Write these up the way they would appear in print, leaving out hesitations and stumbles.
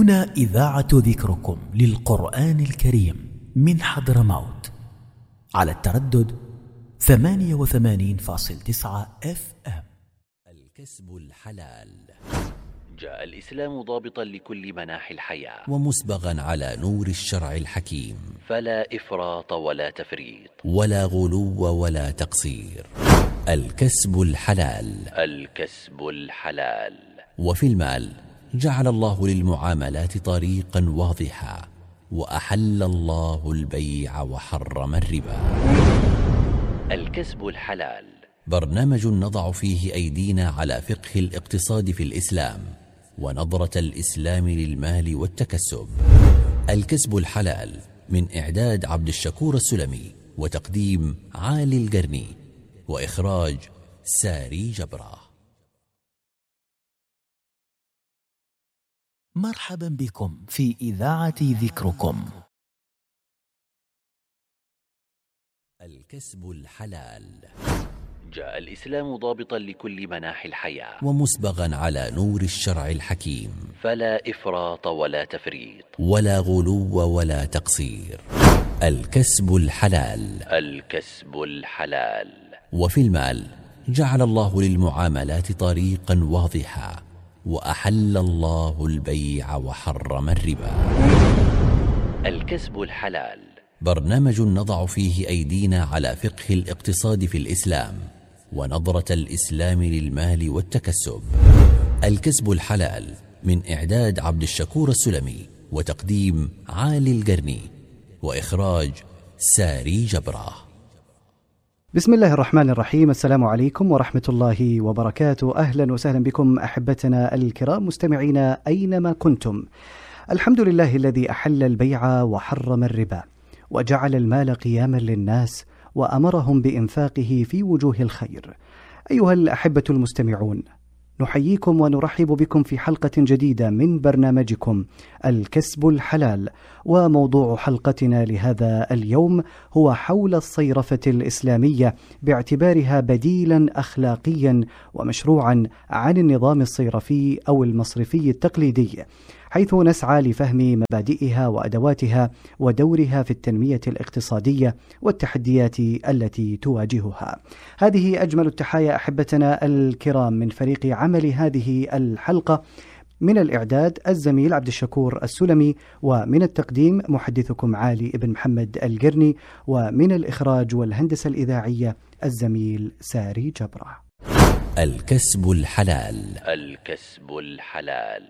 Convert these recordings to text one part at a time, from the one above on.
هنا إذاعة ذكركم للقرآن الكريم من حضرموت على التردد 88.9 FM. الكسب الحلال. جاء الإسلام ضابطا لكل مناحي الحياة ومسبغا على نور الشرع الحكيم، فلا إفراط ولا تفريط ولا غلو ولا تقصير. الكسب الحلال. الكسب الحلال. وفي المال جعل الله للمعاملات طريقا واضحا، وأحل الله البيع وحرم الربا. الكسب الحلال برنامج نضع فيه أيدينا على فقه الاقتصاد في الإسلام ونظرة الإسلام للمال والتكسب. الكسب الحلال من إعداد عبد الشكور السلمي وتقديم عالي القرني وإخراج ساري جبرة. مرحبا بكم في إذاعة ذكركم. الكسب الحلال. جاء الإسلام ضابطا لكل مناحي الحياة ومسبغا على نور الشرع الحكيم، فلا إفراط ولا تفريط ولا غلو ولا تقصير. الكسب الحلال. الكسب الحلال. وفي المال جعل الله للمعاملات طريقا واضحا، وأحل الله البيع وحرم الربا. الكسب الحلال برنامج نضع فيه أيدينا على فقه الاقتصاد في الإسلام ونظرة الإسلام للمال والتكسب. الكسب الحلال من إعداد عبد الشكور السلمي وتقديم عالي القرني وإخراج ساري جبرة. بسم الله الرحمن الرحيم. السلام عليكم ورحمة الله وبركاته. أهلا وسهلا بكم أحبتنا الكرام مستمعين أينما كنتم. الحمد لله الذي أحل البيع وحرم الربا، وجعل المال قياما للناس وأمرهم بإنفاقه في وجوه الخير. أيها الأحبة المستمعون، نحييكم ونرحب بكم في حلقة جديدة من برنامجكم الكسب الحلال. وموضوع حلقتنا لهذا اليوم هو حول الصيرفة الإسلامية باعتبارها بديلا أخلاقيا ومشروعا عن النظام الصيرفي أو المصرفي التقليدي، حيث نسعى لفهم مبادئها وأدواتها ودورها في التنمية الاقتصادية والتحديات التي تواجهها. هذه أجمل التحايا أحبتنا الكرام من فريق عمل هذه الحلقة، من الإعداد الزميل عبد الشكور السلمي، ومن التقديم محدثكم عالي بن محمد القرني، ومن الإخراج والهندسة الإذاعية الزميل ساري جبرة. الكسب الحلال. الكسب الحلال.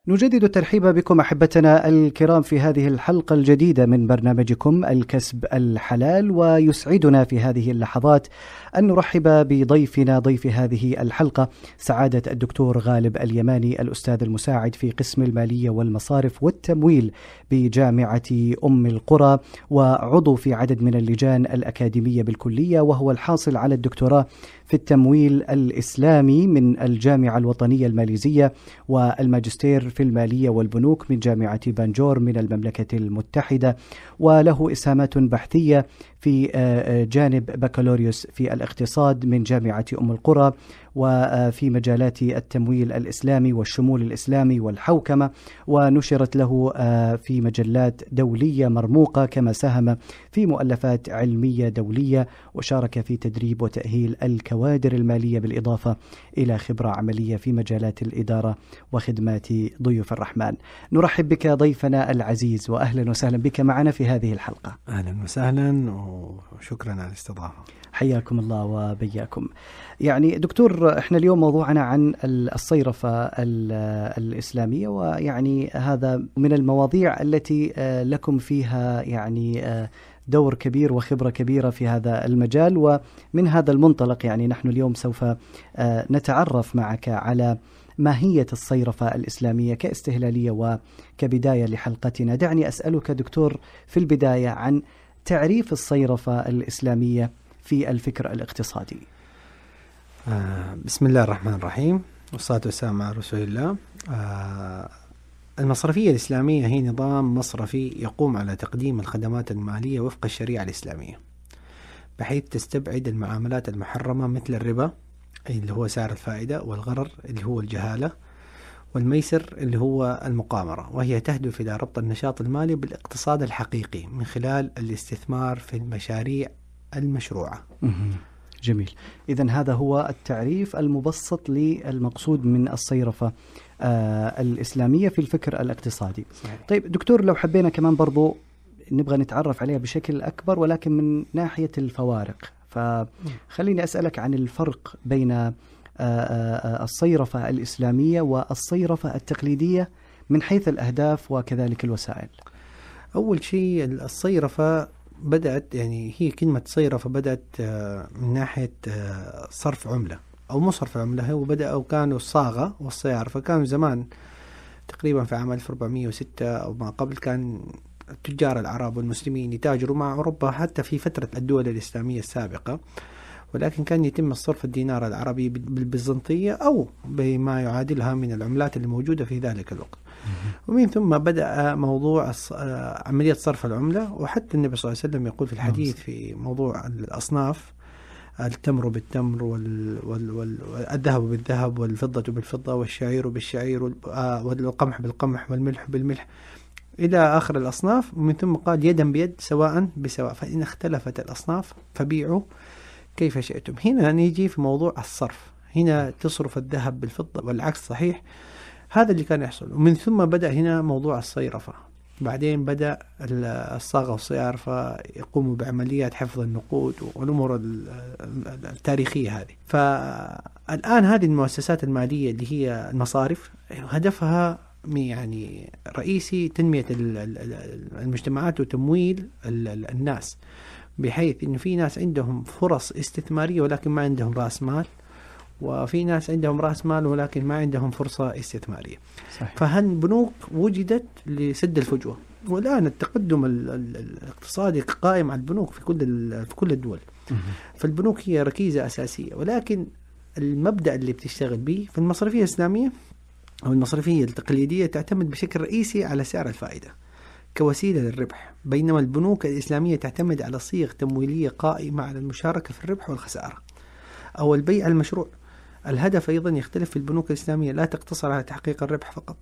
نجدد الترحيب بكم أحبتنا الكرام في هذه الحلقة الجديدة من برنامجكم الكسب الحلال، ويسعدنا في هذه اللحظات أن نرحب بضيفنا ضيف هذه الحلقة سعادة الدكتور غالب اليماني، الأستاذ المساعد في قسم المالية والمصارف والتمويل بجامعة أم القرى، وعضو في عدد من اللجان الأكاديمية بالكلية، وهو الحاصل على الدكتوراه في التمويل الإسلامي من الجامعة الوطنية الماليزية، والماجستير في المالية والبنوك من جامعة بانجور من المملكة المتحدة، وله إسهامات بحثية في جانب بكالوريوس في الاقتصاد من جامعة أم القرى، وفي مجالات التمويل الإسلامي والشمول الإسلامي والحوكمة، ونشرت له في مجلات دولية مرموقة، كما ساهم في مؤلفات علمية دولية، وشارك في تدريب وتأهيل الكوادر المالية، بالإضافة إلى خبرة عملية في مجالات الإدارة وخدمات ضيوف الرحمن. نرحب بك ضيفنا العزيز، وأهلا وسهلا بك معنا في هذه الحلقة. أهلا وسهلا وشكرا على الاستضافة. حياكم الله وبياكم. يعني دكتور، احنا اليوم موضوعنا عن الصيرفة الإسلامية، ويعني هذا من المواضيع التي لكم فيها يعني دور كبير وخبرة كبيرة في هذا المجال. ومن هذا المنطلق يعني نحن اليوم سوف نتعرف معك على ماهية الصيرفة الإسلامية كاستهلالية وكبداية لحلقتنا. دعني أسألك دكتور في البداية عن تعريف الصيرفة الإسلامية في الفكر الاقتصادي. بسم الله الرحمن الرحيم، والصلاة والسلام على رسول الله. المصرفية الإسلامية هي نظام مصرفي يقوم على تقديم الخدمات المالية وفق الشريعة الإسلامية، بحيث تستبعد المعاملات المحرمة مثل الربا اللي هو سعر الفائدة، والغرر اللي هو الجهالة، والميسر اللي هو المقامرة، وهي تهدف إلى ربط النشاط المالي بالاقتصاد الحقيقي من خلال الاستثمار في المشاريع المشروعة. جميل. إذن هذا هو التعريف المبسط للمقصود من الصيرفة الإسلامية في الفكر الاقتصادي. صحيح. طيب دكتور، لو حبينا كمان برضو نبغى نتعرف عليها بشكل أكبر ولكن من ناحية الفوارق، فخليني أسألك عن الفرق بين الصيرفة الإسلامية والصيرفة التقليدية من حيث الأهداف وكذلك الوسائل. أول شيء الصيرفة بدأت، يعني هي كلمة صيرفة بدأت من ناحية صرف عملة أو مو صرف عملة، وبدأوا كانوا الصاغة والصيارفة كانوا زمان تقريبا في عام 1406 أو ما قبل، كان تجار العرب والمسلمين يتاجروا مع أوروبا حتى في فترة الدول الإسلامية السابقة، ولكن كان يتم الصرف الدينار العربي بالبيزنطية أو بما يعادلها من العملات اللي موجودة في ذلك الوقت. ومن ثم بدأ موضوع عملية صرف العملة، وحتى النبي صلى الله عليه وسلم يقول في الحديث في موضوع الأصناف: التمر بالتمر والذهب بالذهب والفضة بالفضة والشعير بالشعير والقمح بالقمح والملح بالملح إلى آخر الأصناف. ومن ثم قال: يدا بيد سواء بسواء، فإن اختلفت الأصناف فبيعوا كيف شئتم. هنا نيجي في موضوع الصرف، هنا تصرف الذهب بالفضة والعكس صحيح. هذا اللي كان يحصل. ومن ثم بدأ هنا موضوع الصيرفة، بعدين بدأ الصاغة والصيارفة يقوموا بعمليات حفظ النقود والأمور التاريخية هذه. فالآن هذه المؤسسات المالية اللي هي المصارف هدفها يعني رئيسي تنمية المجتمعات وتمويل الناس، بحيث إنه في ناس عندهم فرص استثمارية ولكن ما عندهم رأس مال، وفي ناس عندهم رأس مال ولكن ما عندهم فرصة استثمارية. صحيح. فهالبنوك وجدت لسد الفجوة، والآن التقدم الاقتصادي قائم على البنوك في كل الدول. فالبنوك هي ركيزة أساسية، ولكن المبدأ اللي بتشتغل به في المصرفية الإسلامية أو المصرفية التقليدية تعتمد بشكل رئيسي على سعر الفائدة كوسيلة للربح، بينما البنوك الإسلامية تعتمد على صيغ تمويلية قائمة على المشاركة في الربح والخسارة أو البيع المشروع. الهدف أيضا يختلف في البنوك الإسلامية، لا تقتصر على تحقيق الربح فقط،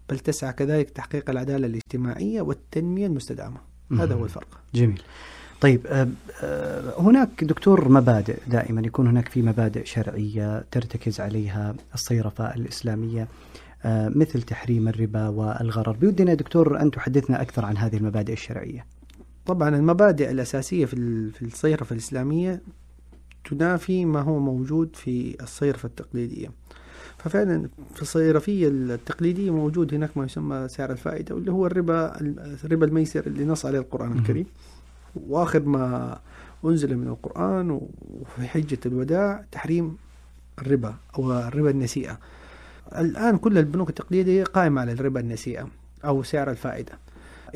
بل تسعى كذلك تحقيق العدالة الاجتماعية والتنمية المستدامة. هذا هو الفرق. جميل. طيب هناك دكتور مبادئ، دائما يكون هناك في مبادئ شرعية ترتكز عليها الصيرفة الإسلامية مثل تحريم الربا والغرر. بودنا دكتور أن تحدثنا أكثر عن هذه المبادئ الشرعية. طبعا المبادئ الأساسية في الصيرفة الإسلامية تنافي ما هو موجود في الصيرفة التقليدية. ففعلا في الصيرفية التقليدية موجود هناك ما يسمى سعر الفائدة، واللي هو الربا الميسر اللي نص عليه القرآن الكريم، وآخر ما أنزل من القرآن وفي حجة الوداع تحريم الربا أو الربا النسيئة. الآن كل البنوك التقليدية قائمة على الربا النسيئة أو سعر الفائدة،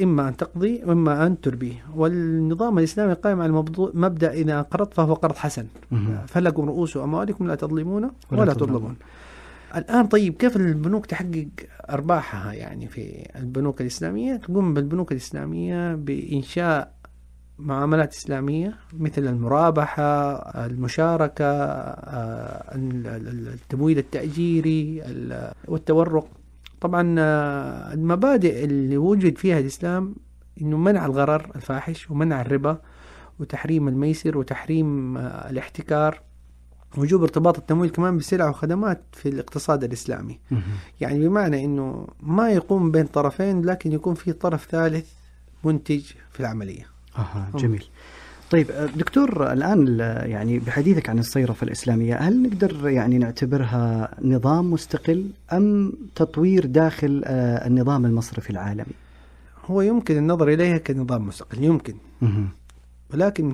إما أن تقضي وإما أن تربي. والنظام الإسلامي قائم على مبدأ إذا قرضت فهو قرض حسن، فلكم رؤوس أموالكم لا تظلمون ولا تظلمون. الآن طيب كيف البنوك تحقق أرباحها؟ يعني في البنوك الإسلامية تقوم بالبنوك الإسلامية بإنشاء معاملات إسلامية مثل المرابحة، المشاركة، التمويل التأجيري والتورق. طبعا المبادئ اللي وجد فيها الإسلام إنه منع الغرر الفاحش ومنع الربا وتحريم الميسر وتحريم الاحتكار، وجوب ارتباط التمويل كمان بالسلع وخدمات في الاقتصاد الإسلامي. يعني بمعنى إنه ما يقوم بين طرفين لكن يكون في طرف ثالث منتج في العملية. جميل. طيب دكتور، الآن يعني بحديثك عن الصيرفة الإسلامية، هل نقدر يعني نعتبرها نظام مستقل أم تطوير داخل النظام المصرفي العالمي؟ هو يمكن النظر إليها كنظام مستقل، يمكن، ولكن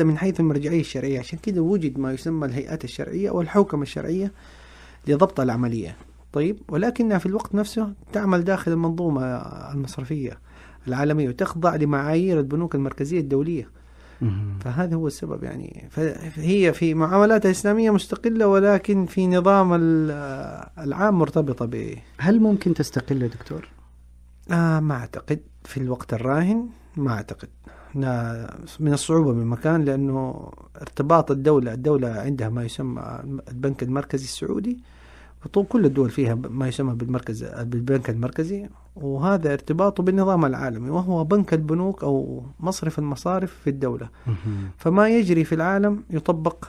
من حيث المرجعية الشرعية. عشان كده وجد ما يسمى الهيئات الشرعية أو الحوكمة الشرعية لضبط العملية. طيب، ولكنها في الوقت نفسه تعمل داخل المنظومة المصرفية العالمية وتخضع لمعايير البنوك المركزية الدولية. فهذا هو السبب. يعني فهي في معاملاتها الإسلامية مستقلة، ولكن في نظام العام مرتبطة به. هل ممكن تستقل يا دكتور؟ ما أعتقد في الوقت الراهن، ما أعتقد. من الصعوبة بمكان، لأنه ارتباط الدولة عندها ما يسمى البنك المركزي السعودي، وطول كل الدول فيها ما يسمى بالبنك المركزي، وهذا ارتباطه بالنظام العالمي، وهو بنك البنوك أو مصرف المصارف في الدولة. فما يجري في العالم يطبق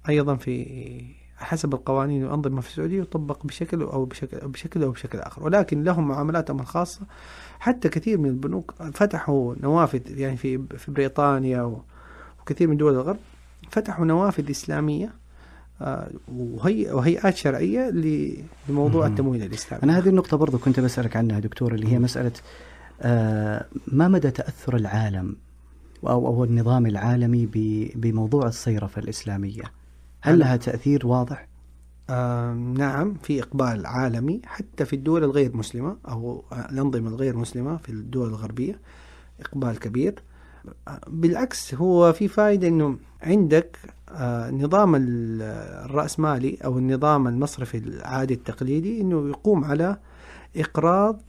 أيضا في حسب القوانين والأنظمة في السعودية، يطبق بشكل أو بشكل آخر، ولكن لهم معاملاتهم الخاصة. حتى كثير من البنوك فتحوا نوافذ، يعني في بريطانيا وكثير من دول الغرب فتحوا نوافذ إسلامية وهيئات شرعية لموضوع التمويل الإسلامي. أنا هذه النقطة برضو كنت بسألك عنها دكتور، اللي هي مسألة ما مدى تأثر العالم أو النظام العالمي بموضوع الصيرفة الإسلامية؟ هل لها تأثير واضح؟ نعم، في إقبال عالمي حتى في الدول الغير مسلمة أو الأنظمة الغير مسلمة في الدول الغربية، إقبال كبير. بالعكس هو في فائدة إنه عندك نظام الرأسمالي أو النظام المصرفي العادي التقليدي إنه يقوم على إقراض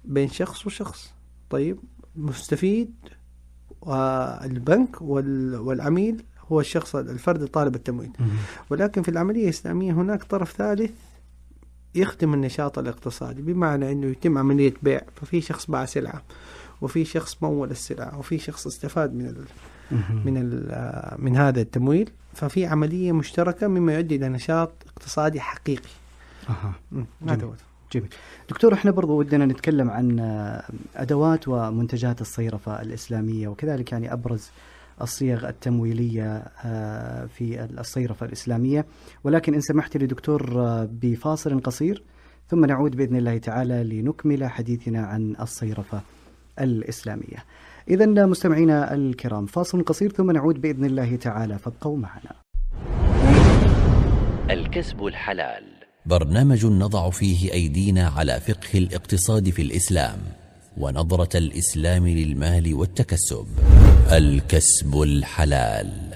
بين شخص وشخص. طيب، مستفيد البنك والعميل هو الشخص الفرد طالب التمويل. ولكن في العملية الإسلامية هناك طرف ثالث يخدم النشاط الاقتصادي، بمعنى أنه يتم عملية بيع، ففي شخص باع سلعة وفي شخص مول السلعة وفي شخص استفاد من هذا التمويل، ففي عملية مشتركة مما يؤدي إلى نشاط اقتصادي حقيقي. جميل. دكتور، احنا برضو ودنا نتكلم عن أدوات ومنتجات الصيرفة الإسلامية، وكذلك يعني أبرز الصيغ التمويلية في الصيرفة الإسلامية، ولكن إن سمحت لي دكتور بفاصل قصير ثم نعود بإذن الله تعالى لنكمل حديثنا عن الصيرفة الإسلامية. إذن مستمعينا الكرام، فاصل قصير ثم نعود بإذن الله تعالى، فابقوا معنا. الكسب الحلال، برنامج نضع فيه أيدينا على فقه الاقتصاد في الإسلام ونظرة الإسلام للمال والتكسب. الكسب الحلال.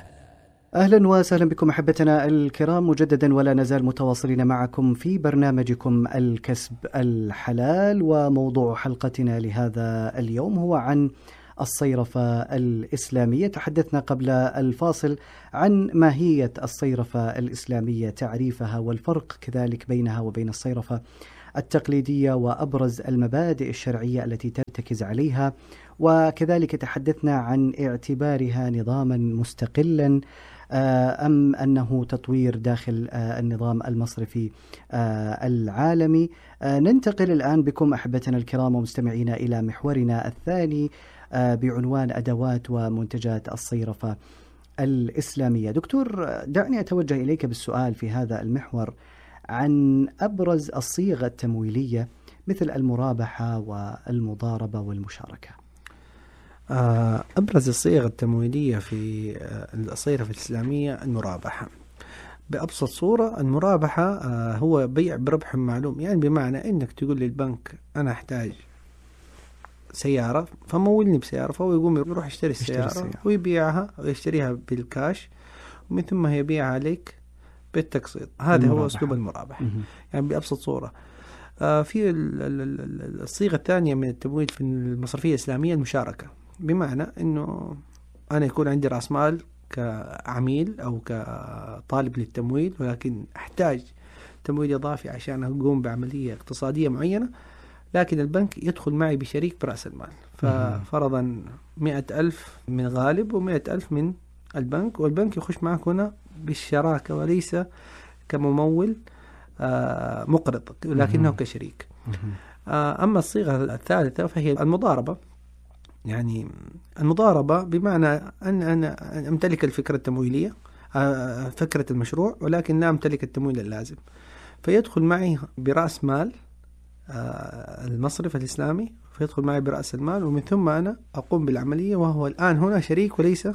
أهلا وسهلا بكم أحبتنا الكرام مجددا، ولا نزال متواصلين معكم في برنامجكم الكسب الحلال، وموضوع حلقتنا لهذا اليوم هو عن الصيرفة الإسلامية. تحدثنا قبل الفاصل عن ماهية الصيرفة الإسلامية، تعريفها والفرق كذلك بينها وبين الصيرفة التقليدية، وأبرز المبادئ الشرعية التي ترتكز عليها، وكذلك تحدثنا عن اعتبارها نظاما مستقلا أم أنه تطوير داخل النظام المصرفي العالمي. ننتقل الآن بكم أحبتنا الكرام ومستمعينا إلى محورنا الثاني بعنوان أدوات ومنتجات الصيرفة الإسلامية. دكتور، دعني أتوجه إليك بالسؤال في هذا المحور عن أبرز الصيغ التمويلية مثل المرابحة والمضاربة والمشاركة. أبرز الصيغ التمويلية في الصيرفة الإسلامية المرابحة. بأبسط صورة، المرابحة هو بيع بربح معلوم، يعني بمعنى أنك تقول للبنك أنا أحتاج سيارة فمولني بسيارة، فهو يقوم يروح يشتري السيارة ويبيعها ويشتريها بالكاش، ومن ثم يبيعها عليك بالتقسيط. هذا هو أسلوب المرابحة يعني بأبسط صورة. في الصيغة الثانية من التمويل في المصرفية الإسلامية المشاركة، بمعنى أنه أنا يكون عندي رأس مال كعميل أو كطالب للتمويل، ولكن أحتاج تمويل إضافي عشان أقوم بعملية اقتصادية معينة، لكن البنك يدخل معي بشريك برأس المال. ففرضا 100,000 من غالب و100,000 من البنك، والبنك يخش معك هنا بالشراكة وليس كممول مقرض، ولكنه كشريك. أما الصيغة الثالثة فهي المضاربة. يعني المضاربة بمعنى أن أنا أمتلك الفكرة التمويلية، فكرة المشروع، ولكن لا أمتلك التمويل اللازم، فيدخل معي برأس مال المصرف الإسلامي، فيدخل معي برأس المال، ومن ثم أنا أقوم بالعملية، وهو الآن هنا شريك وليس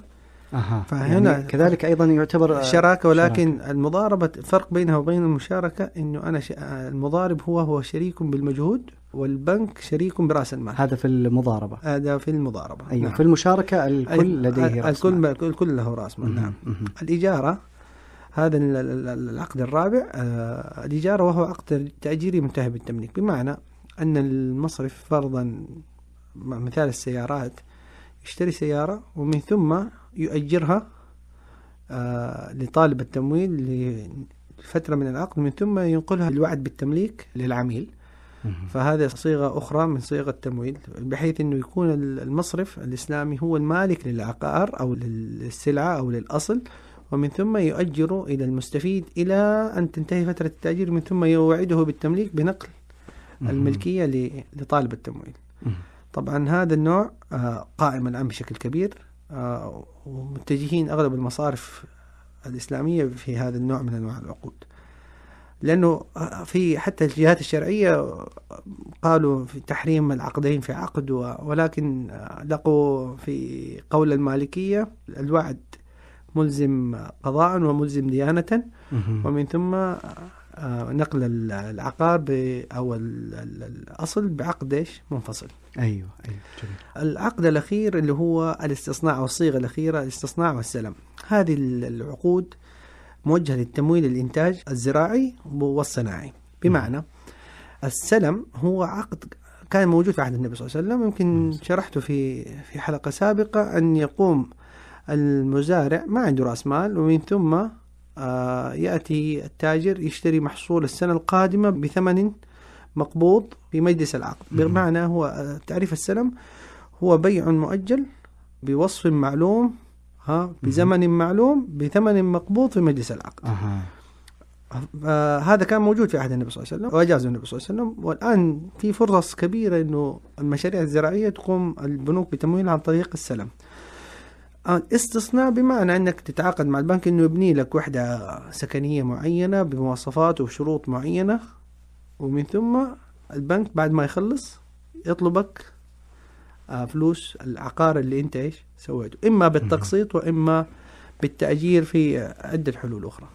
فهنا يعني كذلك أيضا يعتبر شراكة. ولكن المضاربة فرق بينها وبين المشاركة، إنه أنا المضارب هو شريك بالمجهود، والبنك شريك برأس المال. هذا في المضاربة. هذا في المضاربة. أيوة. نعم. في المشاركة الكل لديه رأس مال. الكل له رأس مال. نعم. الإجارة، هذا العقد الرابع، الإجارة وهو عقد تأجيري منتهي بالتمليك، بمعنى أن المصرف فرضا مثال السيارات يشتري سيارة ومن ثم يؤجرها لطالب التمويل فترة من العقد من ثم ينقلها الوعد بالتمليك للعميل. فهذه صيغة أخرى من صيغ التمويل، بحيث أنه يكون المصرف الإسلامي هو المالك للعقار أو للسلعة أو للأصل، ومن ثم يؤجر إلى المستفيد إلى أن تنتهي فترة التأجير، من ثم يوعده بالتمليك بنقل الملكية لطالب التمويل. طبعا هذا النوع قائم الآن بشكل كبير، ومتجهين أغلب المصارف الإسلامية في هذا النوع من أنواع العقود، لأنه في حتى الجهات الشرعية قالوا في تحريم العقدين في عقد، ولكن لقوا في قول المالكية الوعد ملزم قضاء وملزم ديانة، ومن ثم نقل العقار أو الأصل بعقد منفصل. أيوة جميل. العقد الأخير اللي هو الاستصناع، والصيغة الأخيرة الاستصناع والسلم. هذه العقود موجهة للتمويل الإنتاج الزراعي والصناعي. بمعنى السلم هو عقد كان موجود في عهد النبي صلى الله عليه وسلم، يمكن شرحته في حلقة سابقة، أن يقوم المزارع ما عنده رأس مال، ومن ثم يأتي التاجر يشتري محصول السنة القادمة بثمن مقبوض في مجلس العقد. بمعنى هو تعريف السلم هو بيع مؤجل بوصف معلوم بزمن معلوم بثمن مقبوض في مجلس العقد. هذا كان موجود في عهد النبي صلى الله عليه وسلم وأجازه النبي صلى الله عليه وسلم، والآن في فرص كبيرة إنه المشاريع الزراعية تقوم البنوك بتمويلها عن طريق السلم. استصناع بمعنى أنك تتعاقد مع البنك إنه يبني لك وحدة سكنية معينة بمواصفات وشروط معينة، ومن ثم البنك بعد ما يخلص يطلبك فلوس العقار اللي انت ايش سويته، اما بالتقسيط واما بالتأجير في عدة حلول اخرى.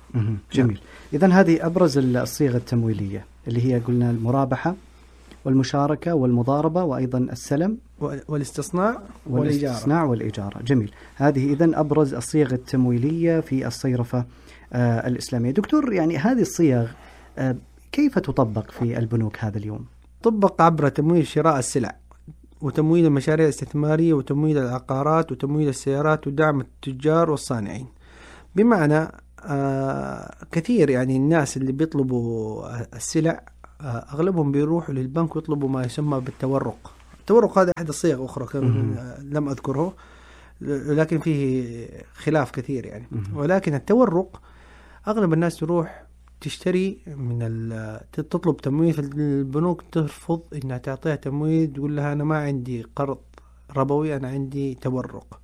جميل. اذن هذه ابرز الصيغ التمويلية اللي هي قلنا المرابحة والمشاركة والمضاربة وأيضا السلم والاستصناع والإجارة. جميل. هذه إذن أبرز الصيغ التمويلية في الصيرفة الإسلامية. دكتور، يعني هذه الصيغ كيف تطبق في البنوك هذا اليوم؟ طبق عبر تمويل شراء السلع، وتمويل المشاريع الاستثمارية، وتمويل العقارات، وتمويل السيارات، ودعم التجار والصانعين. بمعنى كثير يعني الناس اللي بيطلبوا السلع أغلبهم بيروحوا للبنك ويطلبوا ما يسمى بالتورق. التورق هذا أحد الصيغ أخرى لم أذكره، لكن فيه خلاف كثير يعني. ولكن التورق أغلب الناس تروح تشتري تطلب تمويل في البنوك، ترفض إنها تعطيها تمويل، تقول لها أنا ما عندي قرض ربوي، أنا عندي تورق.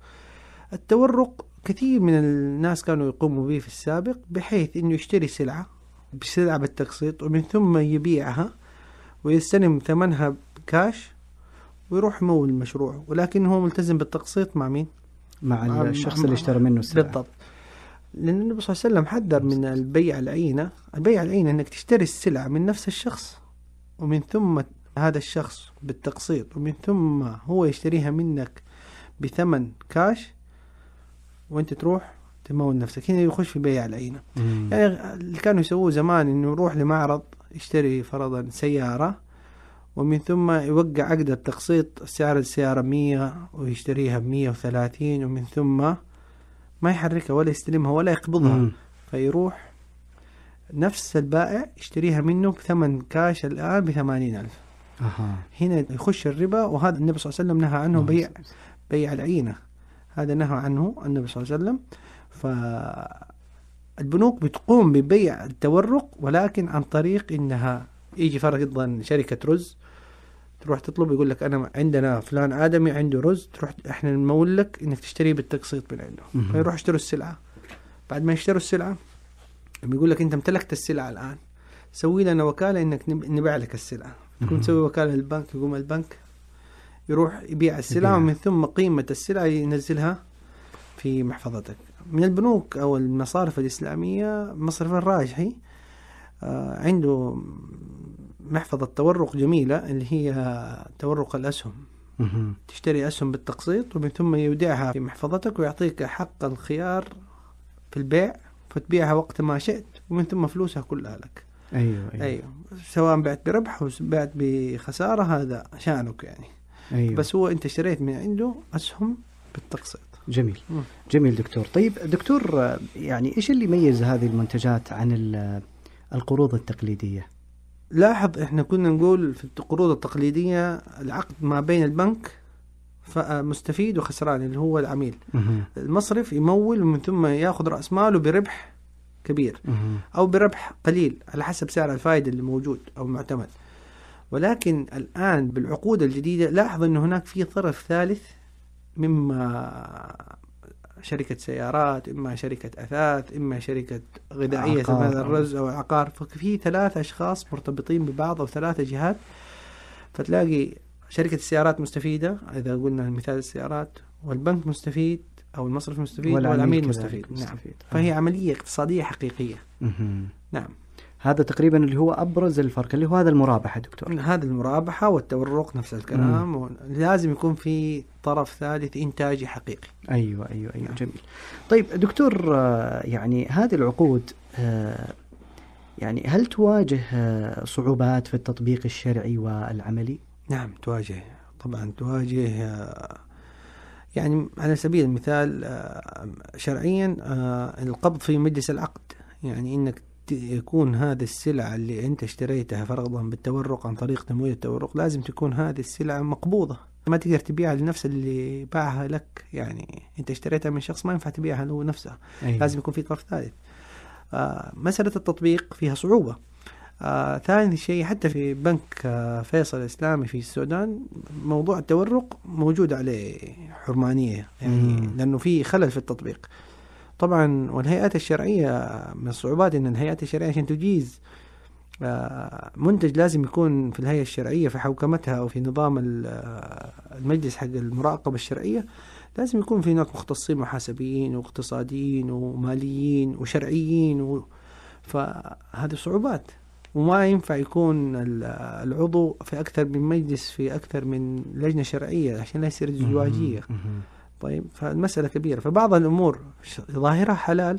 التورق كثير من الناس كانوا يقوموا به في السابق، بحيث إنه يشتري سلعة بالتقسيط، ومن ثم يبيعها ويستلم ثمنها كاش ويروح يمول المشروع، ولكن هو ملتزم بالتقسيط مع مين؟ مع الشخص اللي اشترى منه السلعة. بالضبط. لأن النبي صلى الله عليه وسلم حذر من البيع العينة. البيع العينة أنك تشتري السلعة من نفس الشخص، ومن ثم هذا الشخص بالتقسيط، ومن ثم هو يشتريها منك بثمن كاش، وانت تروح تمول نفسك. هنا يخش في بيع العينة. يعني اللي كانوا يسووه زمان انه يروح لمعرض يشتري فرضا سيارة، ومن ثم يوقع عقد التقسيط، سعر السيارة 100 ويشتريها ب130، ومن ثم ما يحركها ولا يستلمها ولا يقبضها، فيروح نفس البائع يشتريها منه بثمن كاش الآن ب80,000. هنا يخش الربا، وهذا النبي صلى الله عليه وسلم نهى عنه، بيع العينة. هذا نهى عنه النبي صلى الله عليه وسلم. فالبنوك بتقوم ببيع التورق، ولكن عن طريق إنها يجي فرضا شركة رز، تروح تطلب، يقول لك أنا عندنا فلان آدمي عنده رز، تروح إحنا نمول لك إنك تشتري بالتقسيط من عنده. فيروح يشتروا السلعة. بعد ما يشتروا السلعة بيقول لك أنت امتلكت السلعة الآن، سوي لنا وكالة إنك نبيع لك السلعة. تكون تسوي وكالة للبنك، يقوم البنك يروح يبيع السلعة، ومن ثم قيمة السلعة ينزلها في محفظتك. من البنوك أو المصارف الإسلامية مصرف الراجحي عنده محفظة تورق جميلة، اللي هي تورق الأسهم. تشتري أسهم بالتقسيط، ومن ثم يودعها في محفظتك، ويعطيك حق الخيار في البيع، فتبيعها وقت ما شئت، ومن ثم فلوسها كلها لك. أيوة. سواء بعت بربح أو بعت بخسارة، هذا شأنك يعني. أيوة. بس هو أنت اشتريت من عنده أسهم بالتقسيط. جميل. جميل دكتور. طيب دكتور، يعني إيش اللي يميز هذه المنتجات عن القروض التقليدية؟ لاحظ احنا كنا نقول في القروض التقليدية العقد ما بين البنك مستفيد وخسران اللي هو العميل. المصرف يمول ومن ثم ياخذ رأس ماله بربح كبير أو بربح قليل على حسب سعر الفائدة اللي موجود أو المعتمد. ولكن الآن بالعقود الجديدة لاحظ أنه هناك في طرف ثالث، مما شركة سيارات، إما شركة أثاث، إما شركة غذائية مثل الرز أو العقار. ففي 3 أشخاص مرتبطين ببعض أو 3 جهات. فتلاقي شركة السيارات مستفيدة إذا قلنا مثال السيارات، والبنك مستفيد أو المصرف مستفيد والعميل مستفيد. نعم. فهي عملية اقتصادية حقيقية. نعم. هذا تقريبا اللي هو أبرز الفرق، اللي هو هذا المرابحة دكتور. هذا المرابحة والتورق نفس الكلام. لازم يكون في طرف ثالث إنتاجي حقيقي. أيوة. جميل. طيب دكتور، يعني هذه العقود يعني هل تواجه صعوبات في التطبيق الشرعي والعملي؟ نعم تواجه، طبعا تواجه. يعني على سبيل المثال شرعيا القبض في مجلس العقد، يعني إنك يكون هذه السلعة اللي أنت اشتريتها فرضا بالتورق عن طريق تمويل التورق، لازم تكون هذه السلعة مقبوضة، ما تقدر تبيعها لنفس اللي باعها لك. يعني أنت اشتريتها من شخص ما ينفع تبيعها له نفسها. أيوة. لازم يكون في طرف ثالث. مسألة التطبيق فيها صعوبة. ثاني شيء حتى في بنك فيصل الإسلامي في السودان موضوع التورق موجود عليه حرمانية، يعني لأنه في خلل في التطبيق. طبعا والهيئات الشرعية من الصعوبات أن الهيئات الشرعية عشان تجيز منتج لازم يكون في الهيئة الشرعية في حوكمتها أو في نظام المجلس حق المراقبة الشرعية، لازم يكون في هناك مختصين محاسبيين واقتصاديين وماليين وشرعيين فهذه صعوبات. وما ينفع يكون العضو في أكثر من مجلس في أكثر من لجنة شرعية عشان لا يصير ازدواجية. طيب فالمسألة كبيرة. فبعض الأمور ظاهرها حلال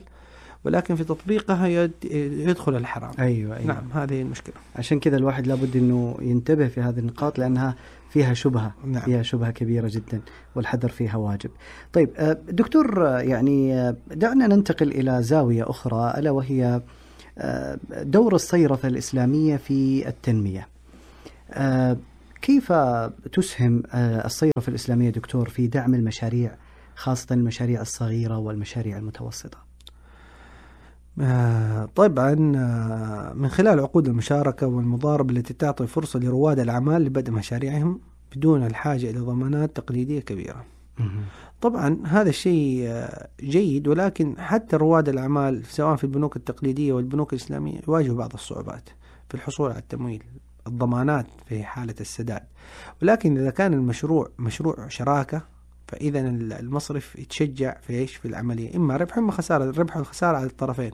ولكن في تطبيقها يدخل الحرام. أيوة. نعم هذه المشكلة. عشان كذا الواحد لابد أنه ينتبه في هذه النقاط لأنها فيها شبهة. نعم. فيها شبهة كبيرة جدا والحذر فيها واجب. طيب دكتور، يعني دعنا ننتقل إلى زاوية أخرى ألا وهي دور الصيرفة الإسلامية في التنمية. كيف تسهم الصيرفة الإسلامية دكتور في دعم المشاريع، خاصة المشاريع الصغيرة والمشاريع المتوسطة؟ طبعا من خلال عقود المشاركة والمضاربة التي تعطي فرصة لرواد الأعمال لبدء مشاريعهم بدون الحاجة إلى ضمانات تقليدية كبيرة. طبعا هذا الشيء جيد، ولكن حتى رواد الأعمال سواء في البنوك التقليدية والبنوك الإسلامية يواجهوا بعض الصعوبات في الحصول على التمويل، الضمانات في حالة السداد. ولكن إذا كان المشروع مشروع شراكة فإذا المصرف يتشجع في العملية، إما ربح إما خسارة، الربح والخسارة على الطرفين.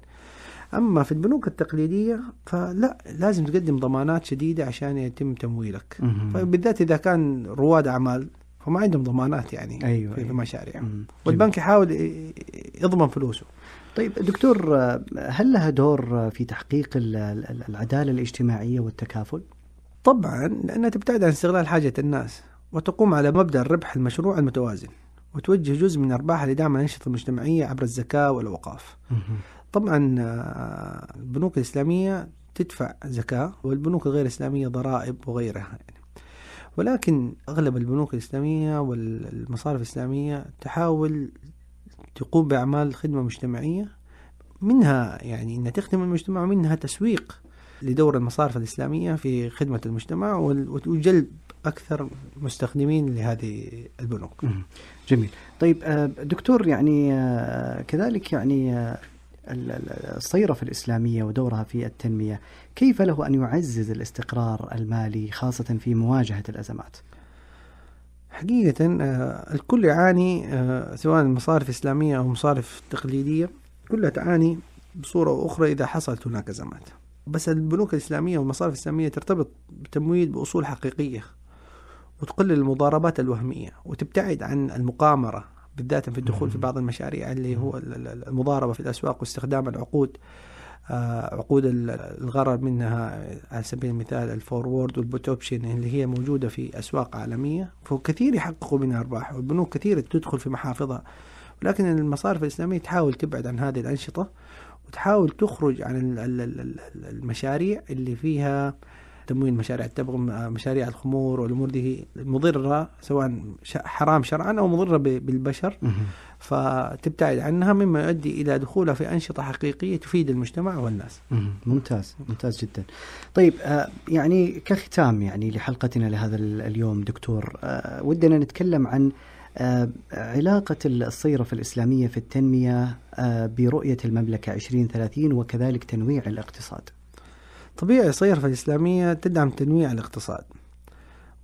أما في البنوك التقليدية فلا، لازم تقدم ضمانات شديدة عشان يتم تمويلك. فبالذات إذا كان رواد أعمال فما عندهم ضمانات يعني. أيوة. في مشاريعهم، والبنك يحاول يضمن فلوسه. طيب دكتور، هل لها دور في تحقيق العدالة الاجتماعية والتكافل؟ طبعا، لأنها تبتعد عن استغلال حاجة الناس وتقوم على مبدأ الربح المشروع المتوازن، وتوجه جزء من أرباحها لدعم الأنشطة المجتمعية عبر الزكاة والأوقاف. طبعا البنوك الإسلامية تدفع زكاة والبنوك الغير إسلامية ضرائب وغيرها يعني. ولكن أغلب البنوك الإسلامية والمصارف الإسلامية تحاول تقوم بأعمال خدمة مجتمعية، منها يعني أنها تخدم المجتمع ومنها تسويق لدور المصارف الإسلامية في خدمة المجتمع وجلب أكثر مستخدمين لهذه البنوك. جميل. طيب دكتور، يعني كذلك يعني الصيرفة الإسلامية ودورها في التنمية، كيف له أن يعزز الاستقرار المالي خاصة في مواجهة الأزمات؟ حقيقة الكل يعاني، سواء المصارف الإسلامية أو مصارف تقليدية كلها تعاني بصورة أو أخرى إذا حصلت هناك أزمات. بس البنوك الإسلامية والمصارف الإسلامية ترتبط بتمويل بأصول حقيقية وتقلل المضاربات الوهمية وتبتعد عن المقامرة، بالذات في الدخول في بعض المشاريع اللي هو المضاربة في الأسواق واستخدام العقود، عقود الغرر منها على سبيل المثال الفورورد والبوت اوبشن اللي هي موجودة في أسواق عالمية، فكثير يحققوا منها أرباح، والبنوك كثير تدخل في محافظها لكن المصارف الإسلامية تحاول تبعد عن هذه الأنشطة وتحاول تخرج عن المشاريع اللي فيها تمويل مشاريع التبغ، مشاريع الخمور والأمور دي مضرة سواء حرام شرعا أو مضرة بالبشر، فتبتعد عنها مما يؤدي إلى دخولها في أنشطة حقيقية تفيد المجتمع والناس. ممتاز جدا. طيب يعني كختام يعني لحلقتنا لهذا اليوم دكتور، ودنا نتكلم عن علاقة الصيرفة الإسلامية في التنمية برؤية المملكة 2030 وكذلك تنويع الاقتصاد. طبيعي الصيرفة الإسلامية تدعم تنويع الاقتصاد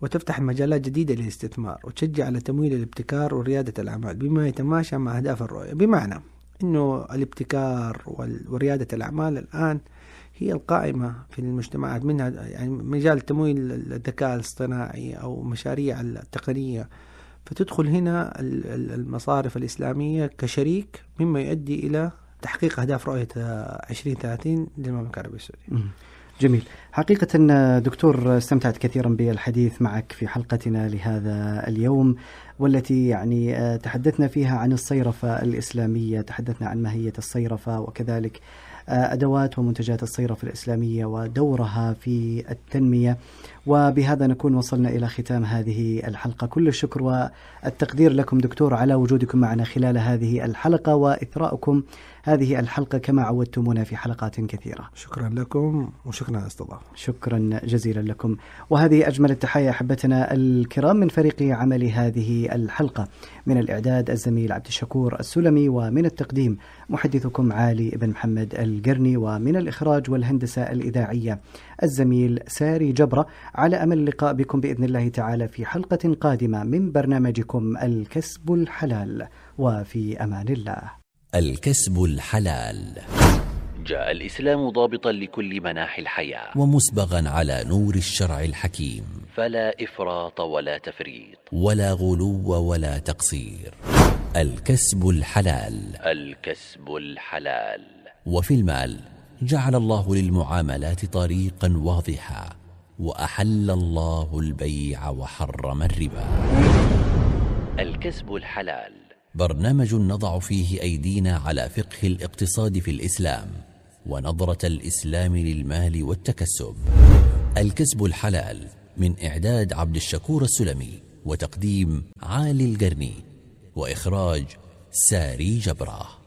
وتفتح مجالات جديدة للاستثمار وتشجع على تمويل الابتكار وريادة الأعمال بما يتماشى مع أهداف الرؤية، بمعنى أنه الابتكار وريادة الأعمال الآن هي القائمة في المجتمعات، منها يعني مجال تمويل الذكاء الاصطناعي أو مشاريع التقنية، فتدخل هنا المصارف الإسلامية كشريك مما يؤدي إلى تحقيق أهداف رؤية 2030 للمملكة العربية السعودية. جميل. حقيقة دكتور استمتعت كثيرا بالحديث معك في حلقتنا لهذا اليوم، والتي يعني تحدثنا فيها عن الصيرفة الإسلامية، تحدثنا عن ماهية الصيرفة وكذلك أدوات ومنتجات الصيرفة الإسلامية ودورها في التنمية. وبهذا نكون وصلنا إلى ختام هذه الحلقة. كل الشكر والتقدير لكم دكتور على وجودكم معنا خلال هذه الحلقة وإثراءكم هذه الحلقة كما عودتمونا في حلقات كثيرة. شكرا لكم وشكرا على الاستضافة. شكرا جزيلا لكم. وهذه أجمل التحية أحبتنا الكرام من فريق عمل هذه الحلقة، من الإعداد الزميل عبد الشكور السلمي، ومن التقديم محدثكم علي بن محمد القرني، ومن الإخراج والهندسة الإذاعية الزميل ساري جبرة. على أمل اللقاء بكم بإذن الله تعالى في حلقة قادمة من برنامجكم الكسب الحلال، وفي أمان الله. الكسب الحلال. جاء الإسلام ضابطا لكل مناحي الحياة ومسبغا على نور الشرع الحكيم، فلا إفراط ولا تفريط ولا غلو ولا تقصير. الكسب الحلال. الكسب الحلال. وفي المال جعل الله للمعاملات طريقا واضحا، وأحل الله البيع وحرم الربا. الكسب الحلال برنامج نضع فيه أيدينا على فقه الاقتصاد في الإسلام ونظرة الإسلام للمال والتكسب. الكسب الحلال من إعداد عبد الشكور السلمي وتقديم عالي القرني وإخراج ساري جبرة.